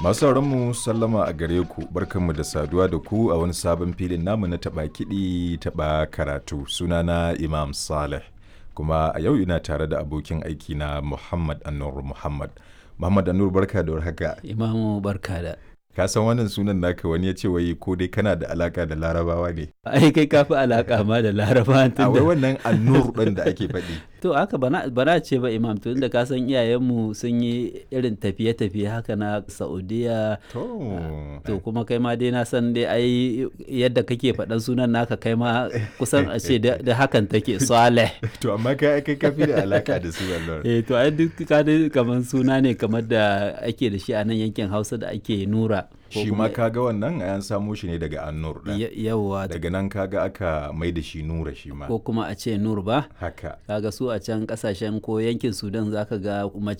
Masu mu sallama a gare ku, barkanmu da saduwa da ku a wani sabon filin namu na taɓa kiɗi taɓa karatu. Sunana Imam Saleh, kuma a yau ina tare da abokin aiki na Muhammad Anur Muhammad. Muhammad Anur, barka da warhaka. Imamu, barka da. Ka san wannan sunan naka, wani ya ce wai ko dai kana da alaka da Larabawa ne? Ai kai ka fi alaka ma da Larabawa. A wai wannan Anur ɗin da ake faɗi. To haka bana ce ba, Imam, to inda ka san iyayenmu sun yi irin tafiye-tafiye haka na Saudiya. To kuma kai ma dai na san dai ai yadda kake faɗan sunan naka, kai ma kusan a ce da hakan take, Saleh. To amma kai ka fi da alaka da su, Allah. Eh, to ai duk ka dai kamar suna ne kamar da ake da shi a nan yankin Hausa da ake Nura. Shi ma kaga wannan an samo shi ne daga Annur ɗin. Yawwa. Daga nan kaga aka mai da shi Nura shi ma. Ko kuma a ce Nur ba. Haka. Kaga su a can kasashen ko yankin Sudan zaka ga mace